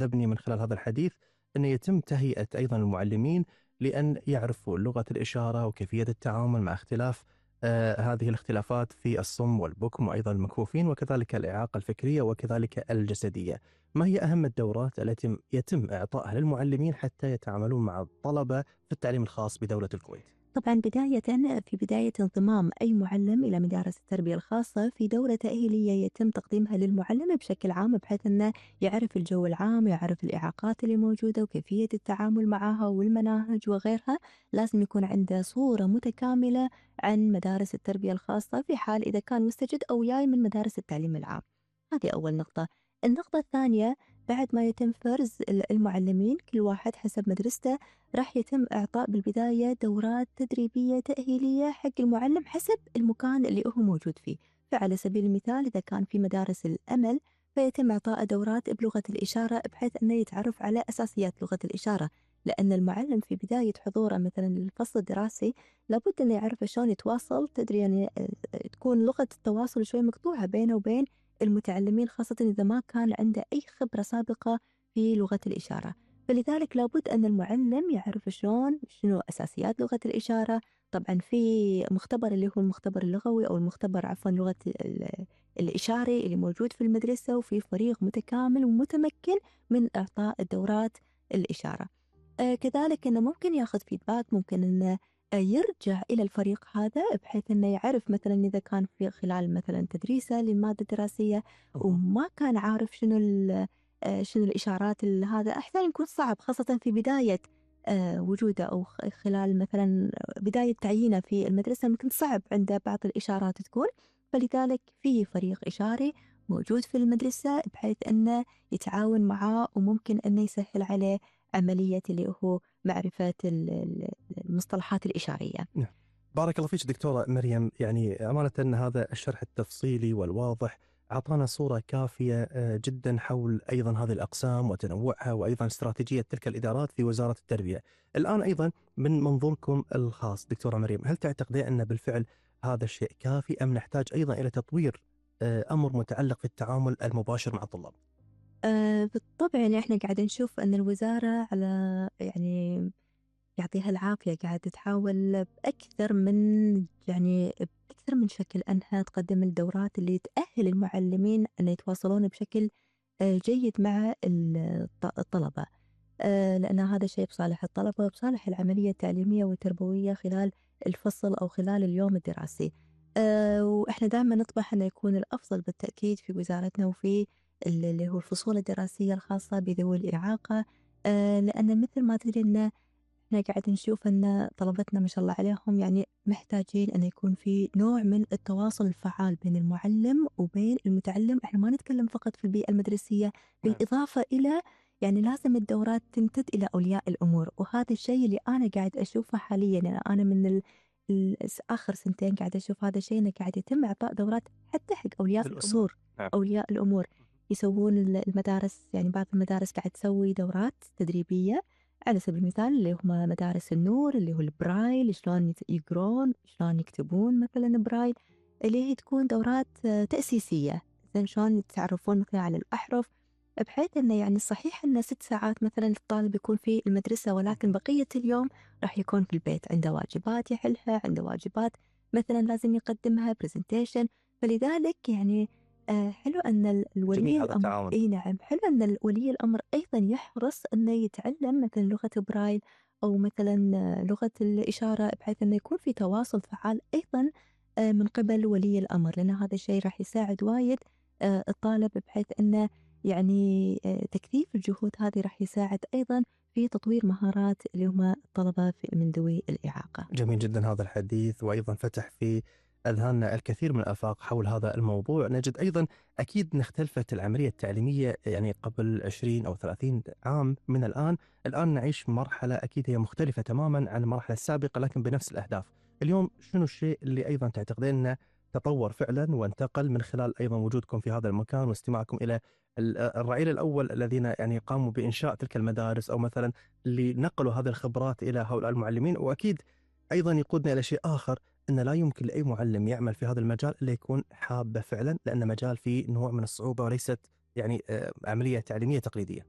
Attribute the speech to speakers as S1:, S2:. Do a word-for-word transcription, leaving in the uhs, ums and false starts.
S1: تبني من خلال هذا الحديث أن يتم تهيئة أيضا المعلمين لأن يعرفوا لغة الإشارة وكيفية التعامل مع اختلاف آه هذه الاختلافات في الصم والبكم وأيضا المكفوفين وكذلك الإعاقة الفكرية وكذلك الجسدية. ما هي أهم الدورات التي يتم إعطائها للمعلمين حتى يتعاملون مع الطلبة في التعليم الخاص بدولة الكويت؟
S2: طبعا بداية في بداية انضمام أي معلم إلى مدارس التربية الخاصة في دورة تأهيلية يتم تقديمها للمعلم بشكل عام بحيث أنه يعرف الجو العام، يعرف الإعاقات اللي موجودة وكيفية التعامل معها والمناهج وغيرها. لازم يكون عنده صورة متكاملة عن مدارس التربية الخاصة في حال إذا كان مستجد أو جاي من مدارس التعليم العام. هذه أول نقطة. النقطة الثانية، بعد ما يتم فرز المعلمين كل واحد حسب مدرسته، راح يتم إعطاء بالبداية دورات تدريبية تأهيلية حق المعلم حسب المكان اللي هو موجود فيه. فعلى سبيل المثال إذا كان في مدارس الأمل فيتم إعطاء دورات بلغة الإشارة بحيث أنه يتعرف على أساسيات لغة الإشارة، لأن المعلم في بداية حضوره مثلا للفصل الدراسي لابد أنه يعرف شلون يتواصل. تدري يعني تكون لغة التواصل شوي مقطوعة بينه وبين المتعلمين، خاصة إذا ما كان عنده أي خبرة سابقة في لغة الإشارة. فلذلك لابد أن المعلم يعرف شلون شنو أساسيات لغة الإشارة. طبعا في مختبر اللي هو المختبر اللغوي أو المختبر عفوا لغة الإشاري اللي موجود في المدرسة، وفي فريق متكامل ومتمكن من إعطاء الدورات الإشارة. آه كذلك أنه ممكن ياخذ فيدباك، ممكن أنه يرجع إلى الفريق هذا بحيث أنه يعرف مثلا إذا كان في خلال مثلا تدريسه للمادة الدراسية وما كان عارف شنو شنو الإشارات. هذا أحيانا يكون صعب خاصة في بداية وجوده أو خلال مثلا بداية تعيينه في المدرسة، ممكن صعب عنده بعض الإشارات تكون. فلذلك في فريق إشاري موجود في المدرسة بحيث أنه يتعاون معاه وممكن أنه يسهل عليه عملية اللي هو معرفة المصطلحات الإشارية.
S1: نعم. بارك الله فيك دكتورة مريم، يعني أمانة أن هذا الشرح التفصيلي والواضح أعطانا صورة كافية جدا حول أيضا هذه الأقسام وتنوعها وأيضا استراتيجية تلك الإدارات في وزارة التربية. الآن أيضا من منظوركم الخاص دكتورة مريم، هل تعتقدين أن بالفعل هذا الشيء كافي أم نحتاج أيضا إلى تطوير أمر متعلق في التعامل المباشر مع الطلاب؟
S2: أه بالطبع، يعني إحنا قاعدين نشوف أن الوزارة على يعني يعطيها العافية قاعدة تحاول بأكثر من يعني بأكثر من شكل أنها تقدم الدورات اللي تأهل المعلمين أن يتواصلون بشكل جيد مع الطلبة، لأن هذا شيء بصالح الطلبة وبصالح العملية التعليمية والتربوية خلال الفصل أو خلال اليوم الدراسي. وإحنا دائما نطمح أن يكون الأفضل بالتأكيد في وزارتنا وفي اللي هو الفصول الدراسية الخاصة بذوي الإعاقة، لأن مثل ما تدري أن احنا قاعد نشوف ان طلبتنا ما شاء الله عليهم يعني محتاجين ان يكون في نوع من التواصل الفعال بين المعلم وبين المتعلم. احنا ما نتكلم فقط في البيئة المدرسية، بالاضافة الى يعني لازم الدورات تمتد الى اولياء الامور، وهذا الشيء اللي انا قاعد اشوفه حاليا. يعني انا من ال... ال... اخر سنتين قاعد اشوف هذا الشيء، انه قاعد يتم اعطاء دورات حتى حق اولياء الامور.
S1: نعم.
S2: اولياء الامور يسوون المدارس، يعني بعض المدارس قاعد تسوي دورات تدريبية على سبيل المثال اللي هم مدارس النور اللي هو البرايل، شلون يقرون شلون يكتبون مثلا برايل، اللي هي تكون دورات تأسيسية زين شلون يتعرفون مثلا على الأحرف، بحيث انه يعني صحيح انه ست ساعات مثلا الطالب يكون في المدرسة ولكن بقية اليوم راح يكون في البيت عنده واجبات يحلها، عنده واجبات مثلا لازم يقدمها برزنتيشن. فلذلك يعني آه حلو أن الولي الأمر إيه نعم حلو أن الولي الأمر أيضا يحرص أنه يتعلم مثلا لغة برايل أو مثلا لغة الإشارة بحيث أنه يكون في تواصل فعال أيضا آه من قبل ولي الأمر، لأن هذا الشيء راح يساعد وايد آه الطالب بحيث أنه يعني آه تكثيف الجهود هذه راح يساعد أيضا في تطوير مهارات اللي هم الطلبة من ذوي الإعاقة.
S1: جميل جدا هذا الحديث، وأيضا فتح في أذهاننا الكثير من الآفاق حول هذا الموضوع. نجد أيضا أكيد إن اختلفت العملية التعليمية يعني قبل عشرين أو ثلاثين عام من الآن. الآن نعيش مرحلة أكيد هي مختلفة تماما عن المرحلة السابقة لكن بنفس الأهداف. اليوم شنو الشيء اللي أيضا تعتقدين أنه تطور فعلا وانتقل من خلال أيضا وجودكم في هذا المكان واستماعكم إلى الرعيل الأول الذين يعني قاموا بإنشاء تلك المدارس أو مثلا اللي نقلوا هذه الخبرات إلى هؤلاء المعلمين؟ وأكيد أيضا يقودنا إلى شيء آخر، أن لا يمكن لأي معلم يعمل في هذا المجال إلا يكون حابة فعلا، لأن مجال فيه نوع من الصعوبة وليست يعني عملية تعليمية تقليدية.